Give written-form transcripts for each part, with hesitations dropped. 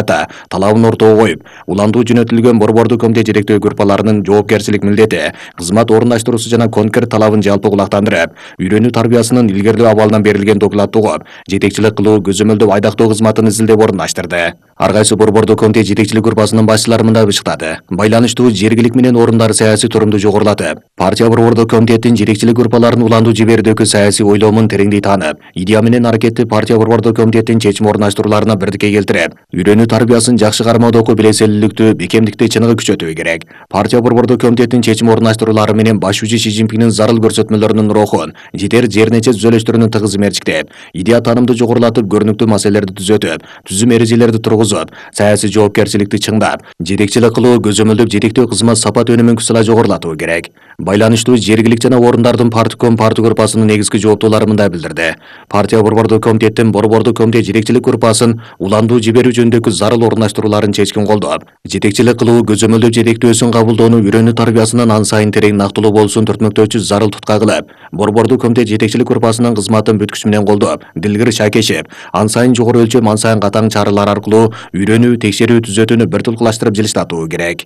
талабын ортого коюп, уландуу жөнөтүлгөн борбордук комитет жетектөө группаларынын жоопкерчилик милдети, кызмат орундаштыруусу жана конкрет талабын жалпы кулактандырып, үйрөнүү тарбиясынын илгерилөө абалынан берилген докладты угуп, жетекчилик кылуу, көзөмөлдөп айдактоо кызматын изилдеп орундаштырды. Ар кайсы борбордук комитет жетекчилик группасынын башчылары мындай бышыктады. Байланыштуу жергилик менен орундар саясий турумду жогорулатып, партия борбордук комитеттин жетекчилик группаларын уландуу жиберүүдөгү саясий ойломун тереңдей таанып, идея менен аракетти партия борбордук комитеттин чечим орундаштырууларына бирдикке келтирип, үйрөнүү тарбиясын жакшы кармоодогу билеселүүлүктү, бекемдикти чыныгы күчөтүү керек. Партия борбордук комитеттин чечим орундаштыруулары менен башчы Си Цзиньпиндин зарыл көрсөтмөлөрүнүн рухун, жетер жернече түзөлүштөрүнүн тыгыз мерчиктеп, идея таанымды жогорулатып, көрүнүктүү маселелерди түзөтүп, түзүм эрежелерди тургузуп, саясий жоопкерчиликти чыңдап, жетекчилик кылуу, көзөмөлдөп жетектөө кызмат сапат өнүмүн кысыла жогорулатуу керек. Байланыштуу жергилик жана орундардын партком партия группасынын негизги жооптуулары мындай билдирди. Партия борбордук комитеттин борбордук комитет жетекчилик группасын уландуу жиберүү жөнүндөгү зарыл орундаштырууларын чечкин колдоп, жетекчилик кылуу, көзөмөлдөп жетектөөсүн кабылдоону үйрөнүү тарбиясынан ан сайын терең нактылуу болуусун түртмөктөөчү зарыл тутка кылып, борбордук комитет жетекчилик группасынын кызматын бүткүч менен колдоп, дилгир шакешип, ан сайын жогору өлчөм, ан сайын катаң чаралар аркылуу үйрөнүү, текшерүү, түзөтүүнү бир тулкулаштырып жылыштатуу керек.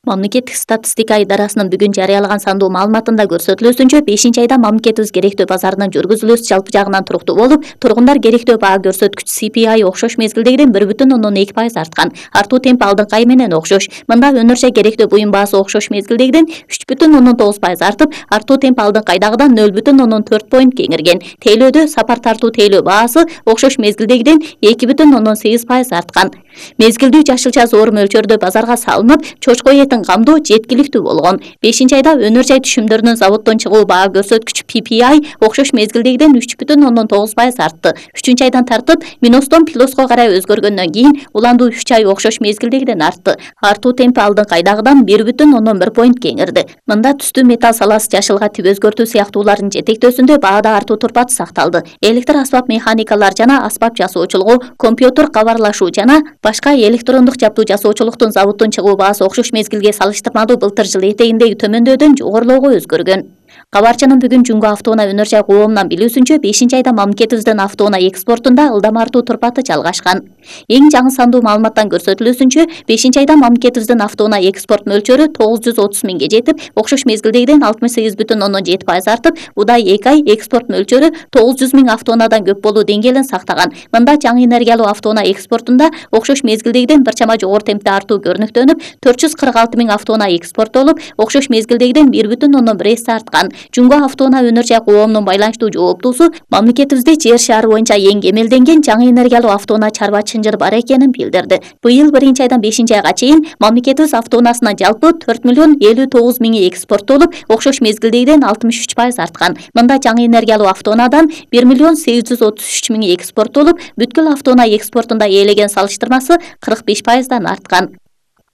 Мамлекеттик статистика идарасынын бүгүн жарыялаган сандуу маалыматында көрсөтүлүүсүнчө, 5-айда мамлекетибиз керектөө базарынын жүргүзүлүүсү жалпы жагынан туруктуу болуп, тургундар керектөө баа көрсөткүч CPI окшош мезгилдегиден 1,2% арткан. Артуу темпи алдыңкы ай менен окшош. Мында өнөрчө керектөө буюм баасы окшош мезгилдегиден 3,9% артып, артуу темпи алдыңкы айдагыдан 0,4 поинт кеңирген. Тейлөөдө сапар тартуу тейлөө баасы окшош мезгилдегиден 2,8% арткан. Мезгилдүү жашылча зоор мөлчөрдө базарга салынып, чочко этин камдоо жеткиликтүү болгон. 5-айда өнөр жай түшүмдөрүнүн заводдон чыгуу баа көрсөткүч PPI окшош мезгилдегиден 3,9% артты. 3-айдан тартып, минустон плюско карай өзгөргөндөн кийин уландуу 3 ай окшош мезгилдегиден артты. Артуу темпи алдыңкы айдагыдан 1,1 поинт кеңирди. Мында түстүү металл саласы, жашылга тип өзгөртүү сыяктуулардын жетектөөсүндө баада артуу турпаты сакталды. Электр асбап механикалар жана асбап жасоочулугу, компьютер кабарлашуу жана башка электрондук жабдуу жасоочулуктун заводдон чыгуу баасы окшош мезгилге салыштырмалуу былтыр жыл этегиндеги төмөндөөдөн жогорулоого өзгөргөн. Кабарчынын бүгүн Жумго автоунаа өнөр жай коомунан билүүсүнчө, 5-айда мамлекетибиздин автоунаа экспортунда ылдам артуу турпаты жалгашкан. Эң жаңы сандуу маалыматтан көрсөтүлүүсүнчө, 5-айда мамлекетибиздин автоунаа экспорт мөлчөрү 930 миңге жетип, окшош мезгилдегиден 68,7% артып, удай 2 ай экспорт мөлчөрү 900 миң автоунаадан көп болуу деңгээлин сактаган. Мында жаңы энергиялуу автоунаа экспортунда окшош мезгилдегиден бир чама жогору темпте артуу көрүнүктөнүп, 446 миң автоунаа экспорттолуп, окшош мезгилдегиден 1,1 арткан. Жумго автоунаа өнөр жай коомунун байланыштуу жооптуусу мамлекетибизде жер шаары боюнча эң кемелденген жаңы энергиялуу автоунаа чарба чынжыр бар экенин билдирди. Быйыл 1-айдан 5-айга чейин мамлекетибиз автоунаасынан жалпы 4,59 миңи экспорттолуп, окшош мезгилдегиден 63% арткан. Мында жаңы энергиялуу автоунаадан 1,833 миңи экспорттолуп, бүткүл автоунаа экспортунда ээлеген салыштырмасы 45%дан арткан.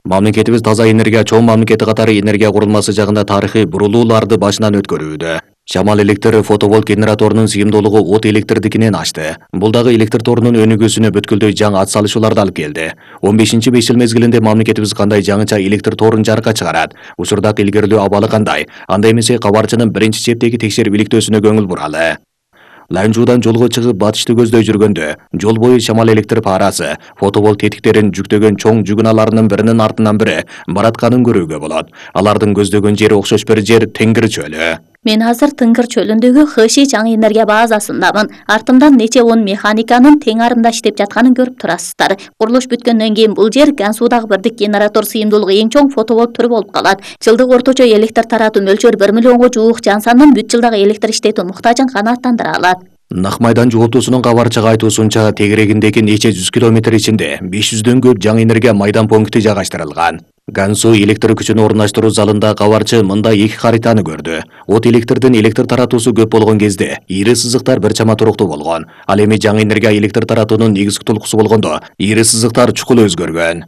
Мамлекетибиз таза энергия чоң мамлекети катары энергия курулмасы жагында тарыхый бурулууларды башынан өткөрүүдө. Шамал электр фотоволт генераторунун сыйымдуулугу от электрдикинен ашты. Бул дагы электр торунун өнүгүүсүнө бүткүлдөй жаңы ат салышууларды алып келди. 15-5 жыл мезгилинде мамлекетибиз кандай жаңыча электр торун жарыкка чыгарат? Учурдагы илгерилөө абалы кандай? Анда эмесе кабарчынын биринчи чептеги текшерип иликтөөсүнө көңүл буралы. Ланжуудан жолго чыгып батышты көздөй жүргөндө, жол бою шамал электр парасы, фотоволт тетиктерин жүктөгөн чоң жүгүналарынын биринин артынан бири баратканын көрүүгө болот. Алардын көздөгөн жери окшош бир жер Теңир чөлү. Мен азыр Тыңгыр чөлүндөгү ХШ жаңы энергия базасындамын. Артымдан нече 10 механиканын тең арымда иштеп жатканын көрүп турасыздар. Курулуш бүткөндөн кийин бул жер Гансуудагы бирдик генератор сыйымдуулугу эң чоң фотоволт түрү болуп калат. Жылдык орточо электр таратуу мөлчөрү 1 миллионго жуук жан сандын бүт жылдагы электр иштетүү муктажын канааттандыра алат. Нак майдан жооптуусунун кабарчыга айтуусунча, тегерегиндеги нече 100 километр ичинде 500дөн көп жаңы энергия майдан пункти жайгаштырылган. Гансу электр күчүн орундаштыруу залында кабарчы мында 2 хаританы көрдү. От электрдин электр таратуусу көп болгон кезде ири сызыктар бир чама туруктуу болгон. Ал эми жаңы энергия электр таратуунун негизги толкусу болгондо ири сызыктар чукул өзгөргөн.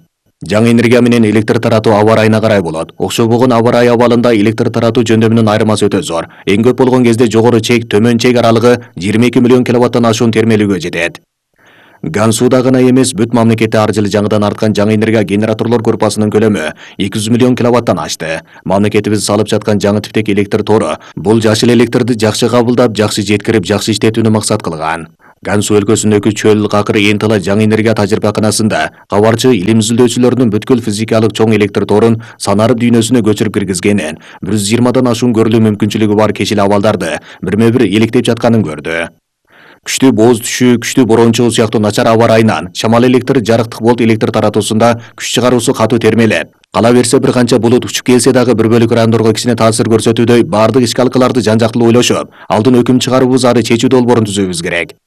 Жаңы энергия менен электр таратуу аба ырайына карай болот. Окшобогон аба ырайы абалында электр таратуу жөндөмүнүн айырмасы өтө зор. Эң көп болгон кезде жогору чек, төмөн чек аралыгы 22 миллион киловаттан ашуун термелүүгө жетет. Гансууда гана эмес, бүт мамлекетте ар жылы жаңыдан арткан жаңы энергия генераторлор группасынын көлөмү 200 миллион киловаттан ашты. Мамлекетибиз салып жаткан жаңы типтеги электр тору бул жашыл электрди жакшы кабылдап, жакшы жеткирип, жакшы иштетүүнү максат кылган. Gansu өлкөсүндөгү чөл какыр Энтала жаңы энергия тажрыйбаканасында кабарчы илим изилдөөчүлөрдүн бүткүл физикалык чоң электр торун санарып дүйнөсүнө көчүрүп киргизгенин, 120дан ашуун көрүлүү мүмкүнчүлүгү бар кечил абалдарды бирме-бир электеп жатканын көрдү. Күчтүү бооз түшүү, күчтүү борон чыгуу сыяктуу начар аба ырайынан шамал электр жарыктык болт электр таратуусунда күч чыгаруусу катуу термелеп, кала берсе бир канча булут учуп келсе дагы бір бөлүк райондорго кичине таасир көрсөтүүдөй баардык ички алкаларды жан-жактылуу ойлошуп, алдын өкүм чыгаруубуз ары чечүү долбоорун түзүүбүз керек.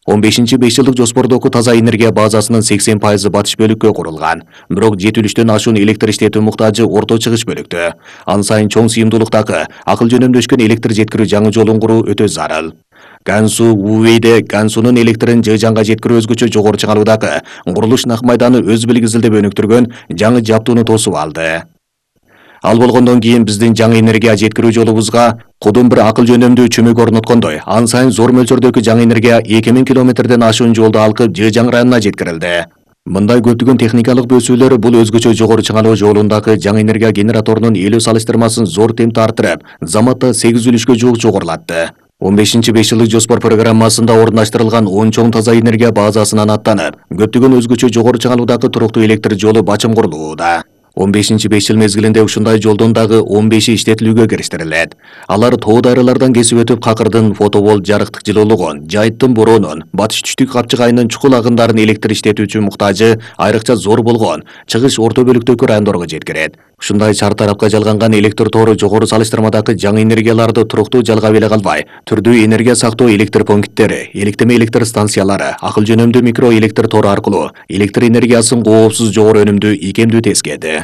15-5 жылдык жоспордогу таза энергия базасынын 80% батыш бөлүккө курулган. Бирок 70-төн ашуун электр иштетүү муктажы орто чыгыш бөлүктө. Ан сайын чоң сыйымдуулуктагы акыл жөнөмдөшкөн электр жеткирүү жаңы жолун куруу өтө зарыл. Gansu Уэйде Гансунун электрин Жыжанга жеткирүү өзгөчө жогору чыңалуудагы курулуш нак майданы өз билгизилдеп өнүктүргөн жаңы жаптууну тосуп алды. Ал болгондон кийин биздин жаңы энергия жеткирүү жолубузга кудум бир акыл жөнөмдүү чүмүк орноткондой, ан сайын зор мөлчөрдөгү жаңы энергия 2000 километрден ашуун жолду алкып Жыжаң районуна жеткирилди. Мындай көптөгөн техникалык бөөсүүлөр бул өзгөчө жогору чыңалуу жолундагы жаңы энергия генераторунун элүү салыштырмасын зор темпте арттырып, заматта 8 үлүшкө жуук жогорулатты. 15-5 жылдык жоспор программасында орундаштырылган 10 чоң таза энергия базасынан аттанып, көптөгөн өзгөчө жогору чыңалуудагы туруктуу электр жолу бачым курулууда. 15-5 жыл мезгилинде ушундай жолдон дагы 15 иштетилүүгө кириштирилет. Алар тоо дайралардан кесип өтүп Какырдын фотоволт жарыктык жылуулугун, Жайыттын боронун, батыш түштүк капчыгайынын чукул агындарын электр иштетүүчү муктажы айрыкча зор болгон чыгыш орто бөлүктөгү райондорго жеткирет. Ушундай чар тарапка жалганган электр тору жогору салыштырмадагы жаңы энергияларды туруктуу жалгап эле калбай, түрдүү энергия сактоо электр пункттери, электеме электр станциялары, акыл жөнөмдүү микро электр тору аркылуу электр энергиясын коопсуз жогору өнүмдүү ийкемдүү тескеди.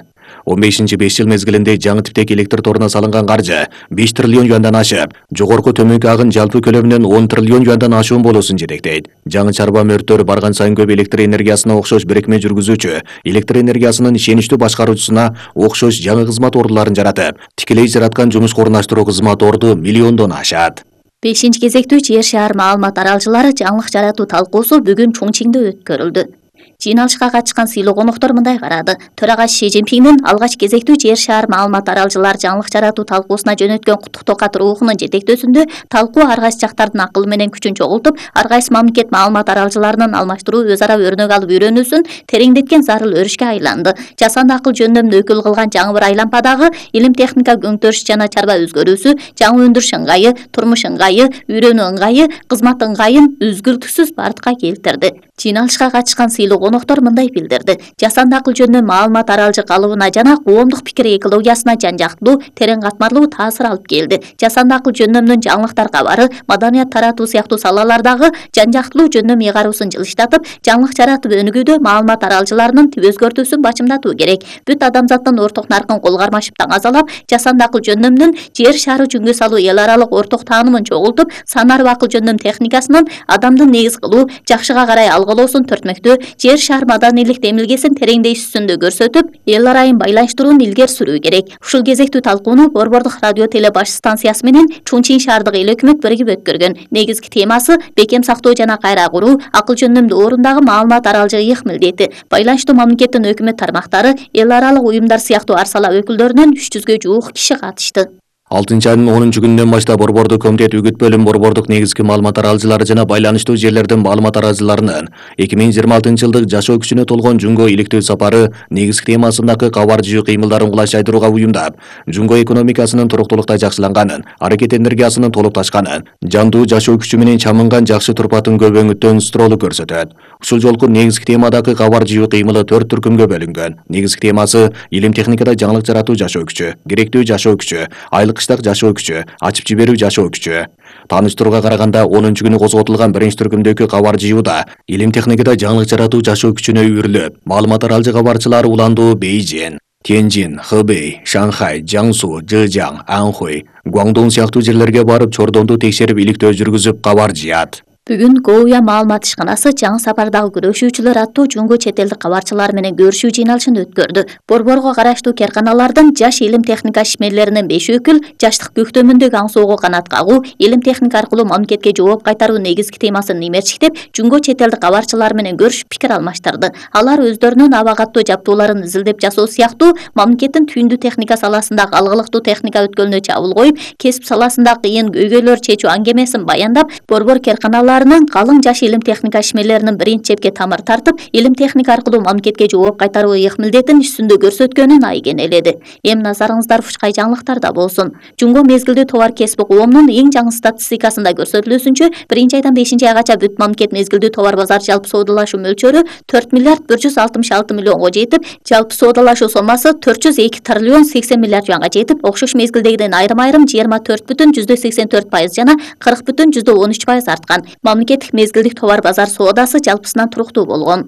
15-5 жыл мезгилинде жаңы типтеги электр торуна салынган каржы 5 триллион юандан ашып, жогорку төмөнкү агын жалпы көлөмүнөн 10 триллион юандан ашуун болуусун жетектейт. Жаңы чарба мөрттөр барган сайын көп электр энергиясына окшош бирикме жүргүзүүчү, электр энергиясынын ишеничтүү башкаруучусуна окшош жаңы кызмат ордуларын жаратып, тикелей жараткан жумушка орундаштыруу кызмат орду миллиондон ашат. 5-кезектүү жер шаар маалымат аралчылары жаңылык жаратуу талкуусу бүгүн Чоңчиңде өткөрүлдү. Жыйналышка катышкан сыйлуу коноктор мындай карады. Төрагачы Ши Цзиньпиңдин алгач кезектүү жер шаар маалымат аралчылар жаңылык жаратуу талкуусуна жөнөткөн куттуктоо кат рухунун жетектөөсүндө талкуу ар кайсы жактардын акылы менен күчүн чогултуп, ар кайсы мамлекет маалымат аралчыларынын алмаштыруу, өз ара өрнөк алып үйрөнүүсүн тереңдеткен зарыл өрүшкө айланды. Жасанды акыл жөндөмүн өкүл кылган жаңы бир айлампадагы илим техника көңтөрүш жана чарба өзгөрүүсү, жаңы өндүрүш ыңгайы, турмуш ыңгайы, үйрөнүү ыңгайы, кызмат ыңгайын үзгүлтүксүз бартка келтирди. Жыйналышка катышкан сыйлуу коноктор мындай билдирди. Жасанды акыл жөнүндө маалымат аралчы калыбына жана коомдук пикир экологиясына жан-жактылуу, терең катмарлуу таасир алып келди. Жасанды акыл жөндөмүнүн жаңылыктар кабары, маданият таратуу сыяктуу салалардагы жан-жактылуу жөндөм ыйгаруусун жылыштатып, жаңылык жаратып өнүгүүдө маалымат аралчыларынын түп өзгөртүүсүн бачымдатуу керек. Бүт адамзаттын орток наркын кол кармашып таңазалап, жасанды акыл жөндөмүнүн жер шаары чүнгө салуу эл аралык орток таанымын чогултуп, санарып акыл жөндөм техникасынын адамдын негиз кылуу, жакшыга карай алгылоосун төртмөктөө, жер шаар маданийлик демилгесин тереңдеш үстүндө көрсөтүп, эл арайын байланыштырууну илгери сүрүү керек. Ушул кезектүү талкууну Борбордук радио теле баш станциясы менен Чоңчиң шаардык эл өкмөт биригип өткөргөн. Негизги темасы бекем сактоо жана кайра куруу, акыл жөндөмдүү орундагы маалымат аралчы ыйык милдети. Байланыштуу мамлекеттин өкмөт тармактары, эл аралык уюмдар сыяктуу ар сала өкүлдөрүнөн 300гө жуук киши катышты. 6-айдын 10-күнүнөн баштап Борбордук комитет үгүт бөлүм Борбордук негизги маалымат аралчылары жана байланыштуу жерлердин маалымат аралчыларынын 2026-жылдык жашоо күчүнө толгон Жунго иликтөө сапары негизги темасындагы кабар жыйуу кыймылдарын кулайчайдырууга уюмдап, Жунго экономикасынын туруктуулукта жакшыланганын, аракет энергиясынын толукташканын, жандуу жашоо күчү менен чамынган жакшы турпатын көбөңүттөн стролу көрсөтөт. Ушул жолку негизги темадагы кабар жыйуу кыймылы 4 түркүмгө бөлүнгөн. Негизги темасы илим техникада жаңылык жаратуу жашоо күчү, керектүү жашоо күчү, кыштак жашоо күчү, ачып жиберүү жашоо күчү. Тааныштырууга караганда 10-күнү козготулган биринчи түркүмдөгү кабар жыюуда илим техникада жаңылык жаратуу жашоо күчүнө үйрүлүп, маалымат аралчы кабарчылар уландуу Бейжин, Тяньжин, Хэбэй, Шанхай, Жаңсу, Жыжаң, Анхуй, Гуандун сыяктуу жерлерге барып чордонду текшерип иликтөө жүргүзүп кабар жыят. Бүгүн Гоуя маалымат ишканасы жаңы сапардагы күрөшүүчүлөр аттуу Жунго чет элдик кабарчылар менен көрүшүү жыйналышын өткөрдү. Борборго караштуу керканалардын жаш илим техника ишмерлеринин 5 өкүл жаштык көктөмүндөгү аңсоого канат кагуу, илим техника аркылуу мамлекетке жооп кайтаруу негизги темасын имерчиктеп, Жунго чет элдик кабарчылар менен көрүшүп пикир алмаштырды. Алар өздөрүнүн аба каттуу жаптууларын изилдеп жасоо сыяктуу мамлекеттин түйүндүү техника саласындагы алгылыктуу техника өткөлүнө чабуул коюп, кесип саласындагы кыйын көйгөйлөр чечүү аңгемесин баяндап, борбор керканалар катарларынын калың жаш илим техника ишмерлеринин биринчи чепке тамыр тартып, илим техника аркылуу мамлекетке жооп кайтаруу ыйык милдетин үстүндө көрсөткөнүн айгенеледи. Эми назарыңыздар ушкай жаңылыктарда болсун. Жумго мезгилдүү товар кесип коомунун эң жаңы статистикасында көрсөтүлүүсүнчө, 1-айдан 5-айгаcha бүт мамлекет мезгилдүү товар базар жалпы соодалашуу мөлчөрү 4 миллиард 166 миллионго жетип, жалпы соодалашуу сомасы 402 триллион 80 миллиард юанга жетип, окшош мезгилдегиден айрым-айрым 24,84% жана 40,13% арткан. Мамлекеттик мезгилдик товар базар соодасы жалпысынан туруктуу болгон.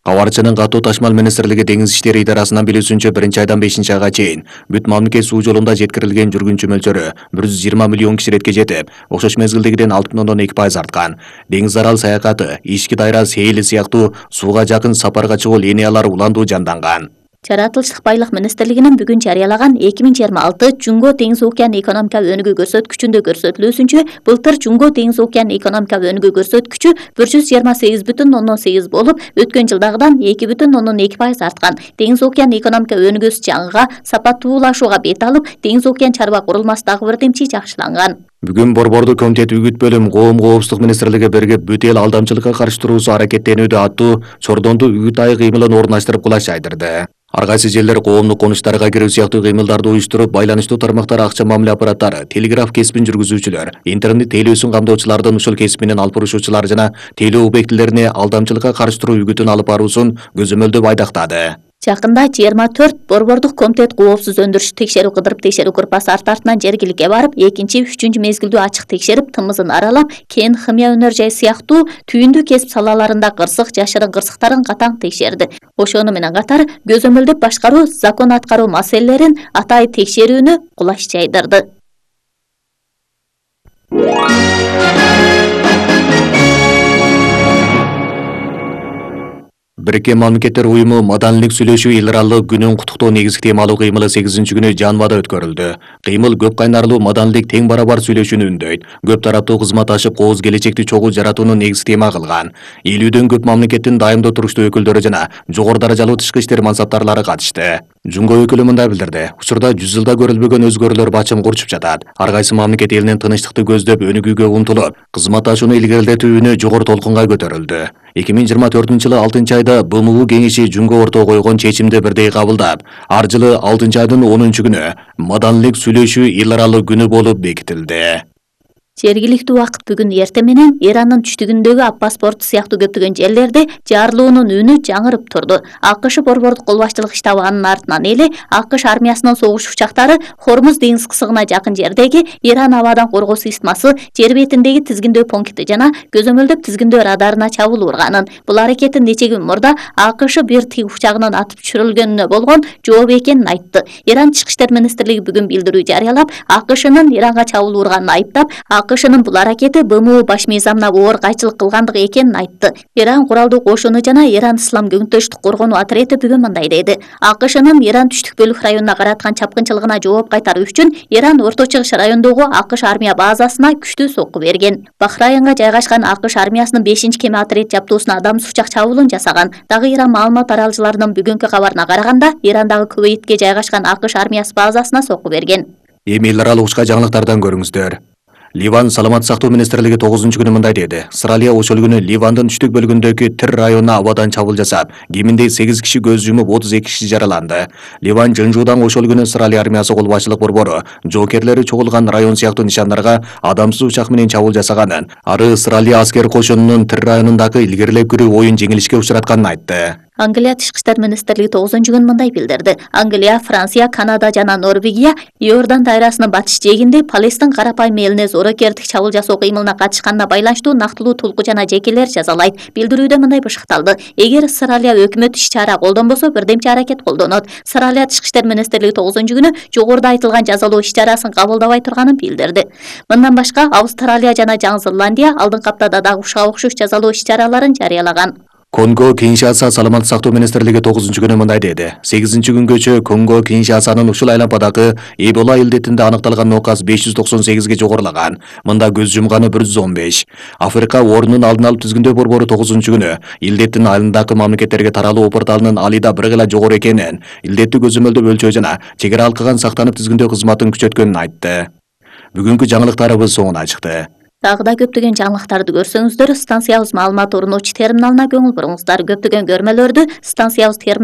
Кабарчынын катуу ташмал министрлиги деңиз иштери идарасынан билүүсүнчө 1-айдан 5-айга чейин бүт мамлекет суу жолунда жеткирилген жүргүнчү мөлчөрү 120 миллион киширетке жетип, окшош мезгилдегиден 6,2% арткан. Деңиз арал саякаты, ички дайра сейили сыяктуу сууга жакын сапарга чыгуу линиялары уландуу жанданган. Жаратылыштык байлык министрлигинин бүгүн жарыялаган 2026 Жунго деңиз океан экономика өнүгүү көрсөткүчүндө көрсөтүлүүсүнчө, былтыр Жунго деңиз океан экономика өнүгүү көрсөткүчү 128,8 болуп, өткөн жылдагыдан 2,2% арткан. Деңиз океан экономика өнүгүүсү жаңыга сапаттуулашууга бет алып, деңиз океан чарба курулмасы дагы бирдемчи жакшыланган. Бүгүн Борбордук комитет үгүт бөлүм коом коопсуздук министрлиги биригип бүт эл алдамчылыкка каршы туруусу аракеттенүүдө аттуу чордондуу үгүт айы кыймылын орундаштырып кулаш айдырды. Ар кайсы жерлер коомдук конуштарга кирүү сыяктуу кыймылдарды уюштуруп, байланыштуу тармактар акча мамиле аппараттары, телеграф кесибин жүргүзүүчүлөр, интернет тейлөөсүн камдоочулардын ушул кесибинен алып бурушуучулар жана тейлөө объектилерине алдамчылыкка каршы туруу үгүтүн алып баруусун көзөмөлдөп айдактады. Жакында 24 Борбордук комитет коопсуз өндүрүш текшерүү кыдырып текшерүү группасы арт-артынан жергиликке барып, 2-3 мезгилдүү ачык текшерип, тымызын аралап, кен, химия өнөр жай сыяктуу түйүндүү кесип салаларында кырсык, жашырын кырсыктарын катаң текшерди. Ошону менен катар көзөмөлдөп башкаруу, закон аткаруу маселелерин атайын текшерүүнү кулаш жайдырды. Бириккен Мамлекеттер Уюму маданийлик сүйлөшүү эл аралык күнүн куттуктоо негизги темалуу кыймылы 8-күнү Жанвада өткөрүлдү. Кыймыл көп кайнарлуу маданийлик тең барабар сүйлөшүүнү үндөйт. Көп тараптуу кызмат ашып кооз келечекти чогуу жаратууну негизги тема кылган. 50дөн көп мамлекеттин дайымдуу туруктуу өкүлдөрү жана жогору даражалуу тышкы иштер мансаптарлары катышты. Жунго өкүлү мындай билдирди: учурда 100 жылда көрүлбөгөн өзгөрүүлөр бачым курчуп жатат. Ар кайсы мамлекет элинин тынычтыкты көздөп, өнүгүүгө умтулуп, кызматташууну илгерилетүүнү жогору толкунга көтөрүлдү. 2024-жылы 6-айда БМУ кеңеши Жунго ортого койгон чечимди бирдей кабылдап, ар жылы 6-айдын 10-күнү маданийлик сүйлөшүү эл аралык күнү болуп бекитилди. Жергиликтүү убакыт бүгүн эртең менен Иранын түштүгүндөгү Аппас порту сыяктуу көптөгөн жерлерде жарылуунун үнү жаңырып турду. АКШ борбордук кол башчылык штабы анын артынан эле АКШ армиясынын согуш учактары Хормуз деңиз кысыгына жакын жердеги Иран абадан коргоо системасы, жер бетиндеги тизгиндөө пункти жана көзөмөлдөп тизгиндөө радарына чабуул урганын. Бул аракеттин нече күн мурда АКШ бир тиг учагынын атып түшүрүлгөнүнө болгон жооп экенин айтты. Иран тышкы иштер министрлиги бүгүн билдирүү жарыялап, АКШнын Иранга чабуул урганын айыптап, АКШнын бул аракети БМУ баш мыйзамына оор кайчылык кылгандыгы экенин айтты. Иран куралдуу кошуну жана Иран ислам көңүттөштүк коргонуу отряды бүгүн мындай деди: АКШнын Иран түштүк бөлүк районуна караткан чапкынчылыгына жооп кайтаруу үчүн Иран Орто Чыгыш районундагы АКШ армия базасына күчтүү сокку берген. Бахрайынга жайгашкан АКШ армиясынын 5-кеме отряд жаптуусуна адамсыз учак чабуулун жасаган. Дагы Иран маалымат аралчыларынын бүгүнкү кабарына караганда, Ирандагы Кувейтке жайгашкан АКШ армиясы базасына сокку берген. Эми эл аралык учка жаңылыктардан көрүңүздөр. Ливан саламаттык сактоо министрлиги 9-күнү мындай деди: Австралия ошол күнү Ливандын түштүк бөлүгүндөгү Тир районуна абадан чабуул жасап, кеминде 8 киши көз жумуп, 32 киши жараланды. Ливан жынжуудан ошол күнү Австралия армиясы кол башчылык борбору жоокерлери чогулган район сыяктуу нишандарга адамсыз учак менен чабуул жасаганын, ары Австралия аскер кошунунун Тир районундагы илгерилеп кирүү оюн жеңилишке учуратканын айтты. Англия тышкы иштер министрлиги 9-күн мындай билдирди: Англия, Франция, Канада жана Норвегия Иордан дайрасынын батыш жээгинде Палестин карапайым элине зорокердик чабуул жасоо кыймылына катышканына байланыштуу нактылуу тулку жана жекелер жазалайт. Билдирүүдө мындай бышыкталды: эгер Австралия өкмөтү иш-чара колдонбосо, бирдемчи аракет колдонот. Австралия тышкы иштер министрлиги 9-күнү жогоруда айтылган жазалоо иш-чарасын кабылдабай турганын билдирди. Мындан башка Австралия жана Жаңы Зеландия алдыңкы аптада дагы ушуга окшош жазалоо иш-чараларын жарыялаган. Конго Киншаса саламаттык сактоо министрлиги 9-күнү мындай деди: 8-күнгөчө Конго Киншасанын ушул айланпадагы Эбола илдетинде аныкталган нокас 598ге жогорулаган. Мында көз жумганы 115. Африка орнунун алдын алып тизгиндөө борбору 9-күнү илдеттин айылындагы мамлекеттерге таралуу порталынын алида бир гыла жогору экенин, илдетти көзөмөлдөп өлчөө жана чегара алкаган сактанып тизгиндөө кызматын күчөткөнүн айтты. Бүгүнкү жаңылыктарыбыз соңуна чыкты. Дагы да көптөгөн жаңылыктарды көрсөңүздөр станциябыз маалымат орнотуучу терминалына көңүл буруңуздар. Көптөгөн көрмөлөрдү станциябыз терминалына